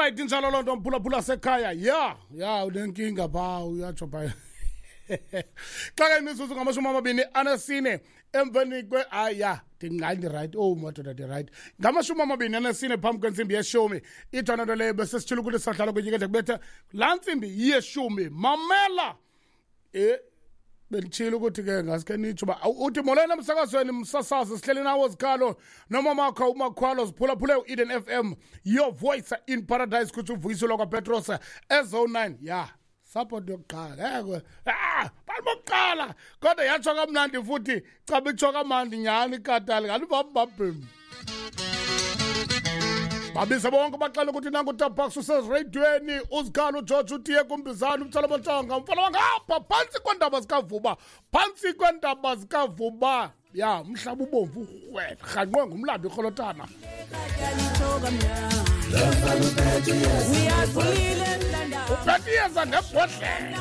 Alright, injalo loo nto, mphulaphula sekhaya. Ya ya, unenkinga phaa, uyatsho phaa. Xa ke imizuzu 24 emveni kwe, hayi ya, ndingayi, ndirayithi. Owu madoda, ndirayithi. 24 phambi kwentsimbi yeshumi. Ithona nto leyo besesitshilo ukuthi sadlala kwinyikede kubetha laa ntsimbi yeshumi. Mamela, benditshilo ukuthi ke ngaske nitsho uba uthi molweni emsakazweni, msasazi, sihleli nawo zikhalo nomamakho umakhwalo, ziphulaphule u-Eden FM, your voice in paradise, kutsho uvuyiselwa kwaPetros ezo 9. Ya, support yokuqala ekwe, bantu bokuqala, kodwa yatsho kamnandi futhi, caba itsho kamnandi nyhani ikatali ngathi bambabhem. Babize bonke, baxela ukuthi nangu utabax usezireyidweni, uzikhalo, uGeorge, utiye kumbizana, umtsala bontshonga, umfana wangapha phantsi kweentaba zikaVuba, phantsi kweentaba zikaVuba. Ya, umhlaba ubomvu urhwe rhanqwe ngumlambo irholotana. Uphetiyeza ngebhodlela.